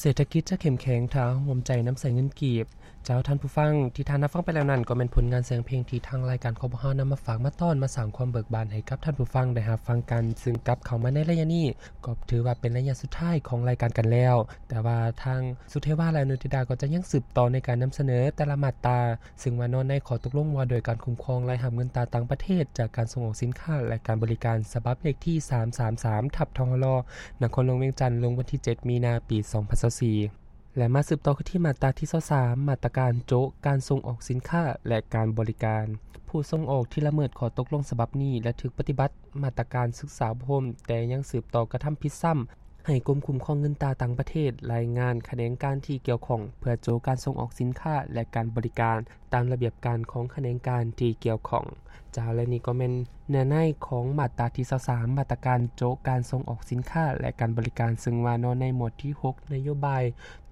ເສດຖະກິດຈະເຂັ້ມແຂງ ຖ້າເຮົາຮ່ວມໃຈນຳໃຊ້ເງິນກີບ. ເຈົ້າ ທ່ານຜູ້ຟັງ, ທີ່ທ່ານຮັບຟັງໄປແລ້ວນັ້ນ ກໍແມ່ນຜົນງານສຽງເພງທີ່ທາງລາຍການ ຄບຫ ນຳມາຝາກມາຕ້ອນ ມາສ້າງຄວາມເບີກບານໃຫ້ກັບທ່ານຜູ້ຟັງໄດ້ຮັບຟັງກັນ. ຊຶ່ງກັບເຂົ້າມາໃນໄລຍະນີ້ ກໍຖືວ່າເປັນໄລຍະສຸດທ້າຍຂອງລາຍການກັນແລ້ວ, ແຕ່ວ່າທາງສຸເທວາ ແລະ ອະນຸທິດາ ກໍຈະຍັງສືບຕໍ່ໃນການນຳສະເໜີແຕ່ລະມາດຕາ, ຊຶ່ງວ່ານອນໃນຂໍ້ຕົກລົງວ່າດ້ວຍການຄຸ້ມຄອງລາຍຮັບເງິນຕາຕ່າງປະເທດຈາກການສົ່ງອອກສິນຄ້າ ແລະ ການບໍລິການ ສະບັບເລກທີ ສາມສາມສາມ ທັບ ທຮ ນະຄອນຫຼວງວຽງຈັນ ລົງວັນທີ ເຈັດ ມີນາ ປີ ສອງພັນຊາວສີ່ ແລະ ມາສືບຕໍ່ກັນທີ່ມາດຕາທີ ຊາວສາມ ມາດຕາການໂຈະການສົ່ງອອກສິນຄ້າ ແລະ ການບໍລິການ. ຜູ້ສົ່ງອອກທີ່ລະເມີດຂໍ້ຕົກລົງສະບັບນີ້ ແລະ ຖືກປະຕິບັດມາດຕາການສຶກສາອົບຮົມ ແຕ່ຍັງສືບຕໍ່ກະທຳຜິດຊ້ຳ ໃຫ້ກົມຄຸ້ມຄອງເງິນຕາຕ່າງປະເທດລາຍງານຂະແໜງການທີ່ກ່ຽວຂ້ອງ ເພື່ອໂຈະການສົ່ງອອກສິນຄ້າ ແລະ ການບໍລິການ ຕາມລະບຽບການຂອງຂະແໜງການທີ່ກ່ຽວຂ້ອງ. ເຈົ້າ ແລະ ນີ້ກໍແມ່ນເນື້ອໃນຂອງມາດຕາທີ ຊາວສາມ ມາດຕາການໂຈະການສົ່ງອອກສິນຄ້າ ແລະ ການບໍລິການ, ຊຶ່ງວ່ານອນໃນໝວດທີ ຫົກ ນະໂຍບາຍ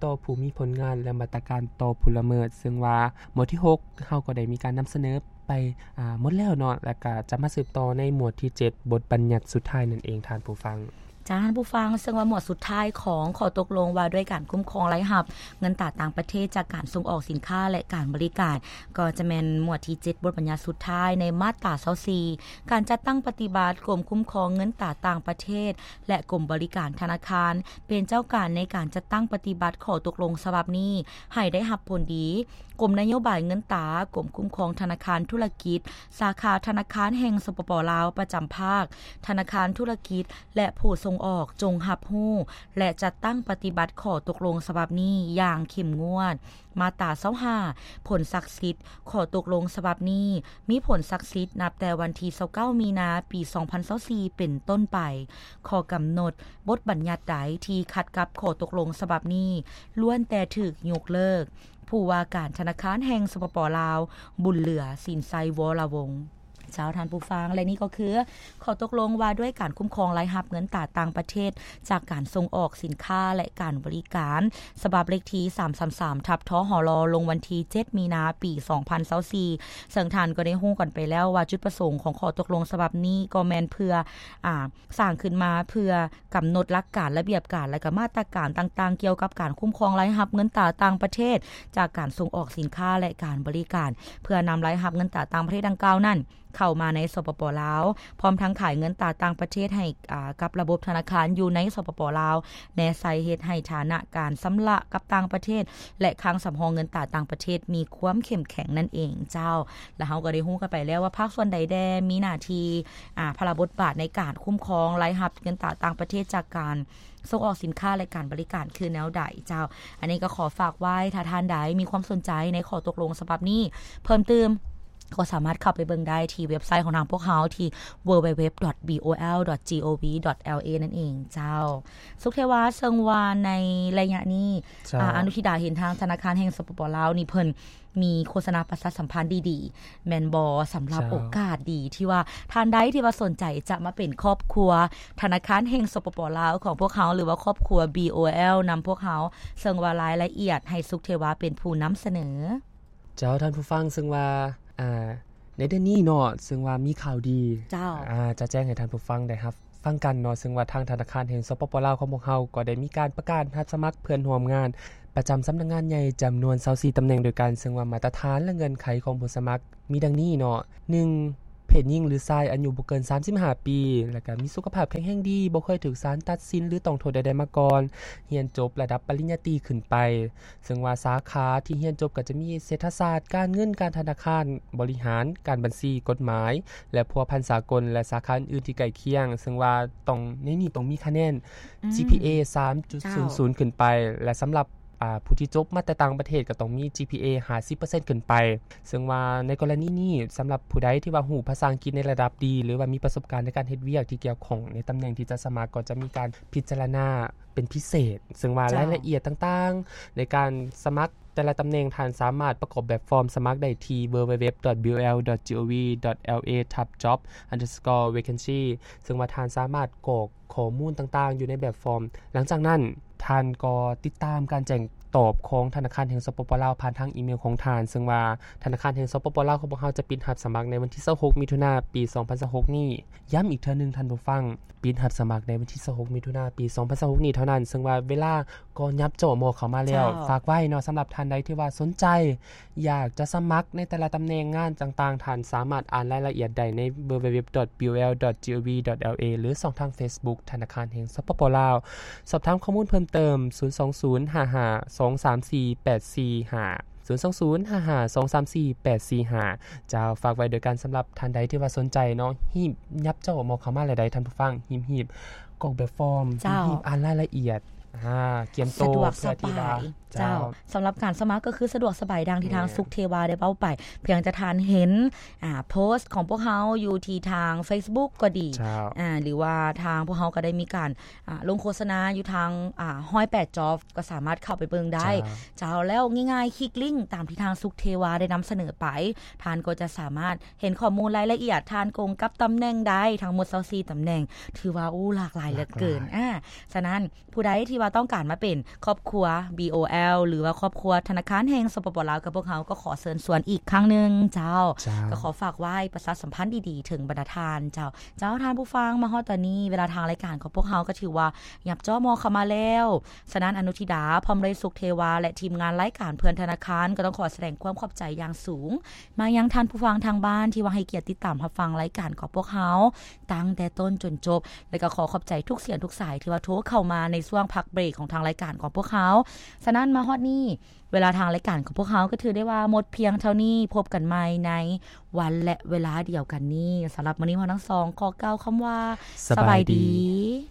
ຕໍ່ຜູ້ມີຜົນງານ ແລະ ມາດຕາການຕໍ່ຜູ້ລະເມີດ, ຊຶ່ງວ່າໝວດທີ ຫົກ ເຮົາກໍໄດ້ມີການນຳສະເໜີໄປ ອາ ໝົດແລ້ວເນາະ, ແລ້ວກະຈະມາສືບຕໍ່ໃນໝວດທີ ເຈັດ ບົດບັນຍັດສຸດທ້າຍນັ້ນເອງ ທ່ານຜູ້ຟັງ. ເຈົ້າ ທ່ານຜູ້ຟັງ, ເຊິ່ງວ່າໝວດສຸດທ້າຍຂອງຂໍ້ຕົກລົງວ່າດ້ວຍການຄຸ້ມຄອງລາຍຮັບເງິນຕາຕ່າງປະເທດຈາກການສົ່ງອອກສິນຄ້າ ແລະ ການບໍລິການ ກໍຈະແມ່ນໝວດທີ ເຈັດ ບົດບັນຍັດສຸດທ້າຍ ໃນມາດຕາ ຊາວສີ່ ການຈັດຕັ້ງປະຕິບັດ. ກົມຄຸ້ມຄອງເງິນຕາຕ່າງປະເທດ ແລະ ກົມບໍລິການທະນາຄານ ເປັນເຈົ້າການໃນການຈັດຕັ້ງປະຕິບັດຂໍ້ຕົກລົງສະບັບນີ້ໃຫ້ໄດ້ຮັບຜົນດີ. ກົມນະໂຍບາຍເງິນຕາ, ກົມຄຸ້ມຄອງທະນາຄານທຸລະກິດ, ສາຂາທະນາຄານແຫ່ງ ສປປ ລາວ ປະຈຳພາກ, ທະນາຄານທຸລະກິດ ແລະ ຜູ້ສົ່ງອອກ ຈົ່ງຮັບຮູ້ ແລະ ຈັດຕັ້ງປະຕິບັດຂໍ້ຕົກລົງສະບັບນີ້ຢ່າງເຂັ້ມງວດ. ມາດຕາ ຊາວຫ້າ ຜົນສັກສິດຂໍ້ຕົກລົງສະບັບນີ້ ມີຜົນສັກສິດນັບແຕ່ວັນທີ ຊາວເກົ້າ ມີນາ ປີ ສອງພັນຊາວສີ່ ເປັນຕົ້ນໄປ. ຂໍ້ກຳນົດ, ບົດບັນຍັດໃດທີ່ຂັດກັບຂໍ້ຕົກລົງສະບັບນີ້ ລ້ວນແຕ່ຖືກຍົກເລີກ. ຜູ້ວ່າການທະນາຄານແຫ່ງ ສປປ ລາວ ບຸນເຫຼືອ ສິນໄຊ ວໍລະວົງ. ເຈົ້າ ທ່ານຜູ້ຟັງ, ແລະ ນີ້ກໍຄືຂໍ້ຕົກລົງວ່າດ້ວຍການຄຸ້ມຄອງລາຍຮັບເງິນຕາຕ່າງປະເທດຈາກການສົ່ງອອກສິນຄ້າ ແລະ ການບໍລິການ ສະບັບເລກທີ ສາມສາມສາມ ທັບ ທຮ ລົງວັນທີ ເຈັດ ມີນາ ປີ ສອງພັນຊາວສີ່ ເຊິ່ງທ່ານກໍໄດ້ຮູ້ກັນໄປແລ້ວວ່າຈຸດປະສົງຂອງຂໍ້ຕົກລົງສະບັບນີ້ກໍແມ່ນເພື່ອ ອາ ສ້າງຂຶ້ນມາເພື່ອກຳນົດຫຼັກການ, ລະບຽບການ ແລະ ກະມາດຕະການຕ່າງໆ ກ່ຽວກັບການຄຸ້ມຄອງລາຍຮັບເງິນຕາຕ່າງປະເທດຈາກການສົ່ງອອກສິນຄ້າ ແລະ ການບໍລິການ ເພື່ອນຳລາຍຮັບເງິນຕາຕ່າງປະເທດດັ່ງກ່າວນັ້ນເຂົ້າມາໃນ ສປປ ລາວ, ພ້ອມທັງຂາຍເງິນຕາຕ່າງປະເທດໃຫ້ ອາ ກັບລະບົບທະນາຄານຢູ່ໃນ ສປປ ລາວ ແນໃສ່ເຮັດໃຫ້ຖານະການຊຳລະກັບຕ່າງປະເທດ ແລະ ຄັງສຳຮອງເງິນຕາຕ່າງປະເທດມີຄວາມເຂັ້ມແຂງນັ້ນເອງເຈົ້າ. ແລະ ເຮົາກໍໄດ້ຮູ້ກັນໄປແລ້ວວ່າພາກສ່ວນໃດແດ່ມີໜ້າທີ່ ອາ ພາລະບົດບາດໃນການຄຸ້ມຄອງລາຍຮັບເງິນຕາຕ່າງປະເທດຈາກການສົ່ງອອກສິນຄ້າ ແລະ ການບໍລິການຄືແນວໃດເຈົ້າ. ອັນນີ້ກໍຂໍຝາກໄວ້, ຖ້າທ່ານໃດມີຄວາມສົນໃຈໃນຂໍ້ຕົກລົງສະບັບນີ້ເພີ່ມຕື່ມ ກໍສາມາດເຂົ້າໄປເບິ່ງໄດ້ທີ່ເວັບໄຊຂອງທາງພວກເຮົາທີ່ www.boal.gov.la ນັ້ນເອງເຈົ້າ. ສຸກເທວາ, ເຊິ່ງວ່າໃນໄລຍະນີ້ ເຈົ້າ ອາ ອະນຸທິດາເຫັນທາງທະນາຄານແຫ່ງ ສປປ ລາວ ນີ້ເພິ່ນມີໂຄສະນາປະຊາສຳພັນດີໆ ແມ່ນບໍ່? ສຳລັບ ເຈົ້າ ໂອກາດດີທີ່ວ່າທ່ານໃດທີ່ວ່າສົນໃຈຈະມາເປັນຄອບຄົວທະນາຄານແຫ່ງ ສປປ ລາວ ຂອງພວກເຮົາ ຫຼືວ່າຄອບຄົວ BOL ນຳພວກເຮົາ, ເຊິ່ງວ່າລາຍລະອຽດໃຫ້ສຸກເທວາເປັນຜູ້ນຳສະເໜີ. ເຈົ້າ ທ່ານຜູ້ຟັງ, ເຊິ່ງວ່າ ອາ ໃນເດືອນນີ້ເນາະ, ເຊິ່ງວ່າມີຂ່າວດີ ເຈົ້າ ອາ ຈະແຈ້ງໃຫ້ທ່ານຜູ້ຟັງໄດ້ຮັບຟັງກັນເນາະ, ເຊິ່ງວ່າທາງທະນາຄານແຫ່ງ ສປປ ລາວ ຂອງພວກເຮົາກໍໄດ້ມີການປະກາດຮັບສະໝັກເພື່ອນຮ່ວມງານປະຈຳສຳນັກງານໃຫຍ່ຈຳນວນຊາວສີ່ຕຳແໜ່ງດ້ວຍກັນ, ເຊິ່ງວ່າມາດຕະຖານ ແລະ ເງື່ອນໄຂຂອງຜູ້ສະໝັກມີດັ່ງນີ້ເນາະ, ໜຶ່ງ ເພດຍິງ ຫຼື ຊາຍ ອາຍຸບໍ່ເກີນສາມສິບຫ້າປີ, ແລ້ວກະມີສຸຂະພາບແຂງແຮງດີ, ບໍ່ເຄີຍຖືກສານຕັດສິນ ຫຼື ຕ້ອງໂທດໃດໆມາກ່ອນ, ຮຽນຈົບລະດັບປະລິນຍາຕີຂຶ້ນໄປ. ເຊິ່ງວ່າສາຂາທີ່ຮຽນຈົບກໍຈະມີເສດຖະສາດ, ການເງິນ, ການທະນາຄານ, ບໍລິຫານ, ການບັນຊີ, ກົດໝາຍ ແລະ ພົວພັນສາກົນ ແລະ ສາຂາອື່ນໆທີ່ໃກ້ຄຽງ, ເຊິ່ງວ່າຕ້ອງ ໃນນີ້ຕ້ອງມີຄະແນນ ອືມ ຈີພີເອ ສາມຈຸດສູນສູນ ເຈົ້າ ຂຶ້ນໄປ ແລະ ສຳລັບ ອາ ຜູ້ທີ່ຈົບມາແຕ່ຕ່າງປະເທດກໍຕ້ອງມີ ຈີພີເອ ຫ້າສິບເປີເຊັນ ຂຶ້ນໄປ. ເຊິ່ງວ່າໃນກໍລະນີນີ້ ສຳລັບຜູ້ໃດທີ່ວ່າຮູ້ພາສາອັງກິດໃນລະດັບດີ ຫຼືວ່າມີປະສົບການໃນການເຮັດວຽກທີ່ກ່ຽວຂ້ອງໃນຕຳແໜ່ງທີ່ຈະສະໝັກ ກໍຈະມີການພິຈາລະນາ ເປັນພິເສດ, ເຊິ່ງວ່າ ເຈົ້າ ລາຍລະອຽດຕ່າງໆໃນການສະໝັກແຕ່ລະຕຳແໜ່ງ, ທ່ານສາມາດປະກອບແບບຟອມສະໝັກໄດ້ທີ່ www.boal.gov.la/job_vacancy, ເຊິ່ງວ່າທ່ານສາມາດກອກ ຂໍ້ມູນຕ່າງໆຢູ່ໃນແບບຟອມ. ຫຼັງຈາກນັ້ນ ທ່ານກໍຕິດຕາມການແຈ້ງຕອບຂອງທະນາຄານແຫ່ງ ສປປ ລາວ ຜ່ານທາງອີເມວຂອງທ່ານ, ເຊິ່ງວ່າທະນາຄານແຫ່ງ ສປປ ລາວ ຂອງພວກເຮົາຈະປິດຮັບສະໝັກໃນວັນທີຊາວຫົກ ມິຖຸນາ ປີສອງພັນຊາວຫົກນີ້. ຢ້ຳອີກເທື່ອໜຶ່ງທ່ານຜູ້ຟັງ, ປິດຮັບສະໝັກໃນວັນທີຊາວຫົກ ມິຖຸນາ ປີສອງພັນຊາວຫົກນີ້ເທົ່ານັ້ນ, ເຊິ່ງວ່າເວລາກໍຫຍັບເຈາະໝໍ້ເຂົ້າມາແລ້ວ. ເຈົ້າ. ຝາກໄວ້ເນາະ, ສຳລັບທ່ານໃດທີ່ວ່າສົນໃຈ ຢາກຈະສະໝັກໃນແຕ່ລະຕຳແໜ່ງງານຕ່າງໆ, ທ່ານສາມາດອ່ານລາຍລະອຽດໄດ້ໃນ www.bol.gov.la ຫຼື ຊ່ອງທາງ Facebook ທະນາຄານແຫ່ງ ສປປ ລາວ. ສອບຖາມຂໍ້ມູນເພີ່ມເຕີມ ສູນສອງສູນຫ້າຫ້າສອງສາມສີ່ແປດສີ່ຫ້າ ສູນສອງສູນຫ້າຫ້າສອງສາມສີ່ແປດສີ່ຫ້າ. ເຈົ້າ, ຝາກໄວ້ໂດຍການສຳລັບທ່ານໃດທີ່ວ່າສົນໃຈເນາະ, ຮີບຫຍັບເຈາະໝໍ້ເຂົ້າມາແລ້ວໃດທ່ານຜູ້ຟັງ, ຮີບໆ ກອກແບບຟອມ, ເຈົ້າ. ຮີບອ່ານລາຍລະອຽດ, ອ່າ, ກຽມໂຕ ສະດວກສະບາຍ. ເພື່ອທີ່ວ່າ ເຈົ້າ. ເຈົ້າ. ສຳລັບການສະໝັກກໍຄືສະດວກສະບາຍ ດັ່ງທີ່ທາງ ແມ່ນ ສຸກເທວາໄດ້ເວົ້າໄປ. ພຽງແຕ່ທ່ານເຫັນ ອ່າ ໂພສຂອງພວກເຮົາຢູ່ທີ່ທາງ Facebook ກໍດີ, ເຈົ້າ. ອ່າ ຫຼືວ່າທາງພວກເຮົາກໍໄດ້ມີການ ອ່າ ລົງໂຄສະນາຢູ່ທາງ ອ່າ ໜຶ່ງຮ້ອຍແປດ Job ກໍສາມາດເຂົ້າໄປເບິ່ງໄດ້. ເຈົ້າ. ເຈົ້າ. ແລ້ວງ່າຍໆ ຄລິກລິ້ງຕາມທີ່ທາງ ສຸກເທວາ ໄດ້ນຳສະເໜີໄປ, ທ່ານກໍຈະສາມາດເຫັນຂໍ້ມູນລາຍລະອຽດ, ທ່ານກົງກັບຕຳແໜ່ງໃດ, ທັງໝົດຊາວສີ່ຕຳແໜ່ງ, ຖືວ່າ ໂອ້ ຫຼາກຫຼາຍເຫຼືອເກີນ. ຫຼາກຫຼາຍ. ອ່າ ສະນັ້ນ ຜູ້ໃດທີ່ວ່າຕ້ອງການມາເປັນຄອບຄົວ BOL ຫຼືວ່າຄອບຄົວທະນາຄານແຫ່ງ ສປປ ລາວ ກັບພວກເຮົາ ກໍຂໍເຊີນຊວນອີກຄັ້ງໜຶ່ງ. ເຈົ້າ. ເຈົ້າ. ກໍຂໍຝາກໄວ້ປະຊາສຳພັນດີໆເຖິງບັນດາທ່ານ. ເຈົ້າ. ເຈົ້າ, ທ່ານຜູ້ຟັງ, ມາຮອດຕອນນີ້ ເວລາທາງລາຍການຂອງພວກເຮົາກໍຖືວ່າຫຍັບເຈາະໝໍ້ເຂົ້າມາແລ້ວ. ສະນັ້ນ ອະນຸທິດາ ພ້ອມດ້ວຍ ສຸກເທວາ ແລະ ທີມງານລາຍການເພື່ອນທະນາຄານ ກໍຕ້ອງຂໍສະແດງຄວາມຂອບໃຈຢ່າງສູງ ມາຍັງທ່ານຜູ້ຟັງທາງບ້ານທີ່ວ່າໃຫ້ກຽດຕິດຕາມຮັບຟັງລາຍການຂອງພວກເຮົາຕັ້ງແຕ່ຕົ້ນຈົນຈົບ, ແລະກໍຂໍຂອບໃຈທຸກສຽງທຸກສາຍທີ່ວ່າໂທເຂົ້າມາໃນຊ່ວງພັກເບຣກຂອງທາງລາຍການຂອງພວກເຮົາ. ສະນັ້ນ ມາຮອດນີ້ ເວລາທາງລາຍການຂອງພວກເຮົາກໍຖືໄດ້ວ່າໝົດພຽງເທົ່ານີ້. ພົບກັນໃໝ່ໃນວັນ ແລະ ເວລາດຽວກັນນີ້. ສຳລັບມື້ນີ້ ເຮົາທັງສອງຂໍກ່າວຄຳວ່າ ສະບາຍດີ. ສະບາຍດີ.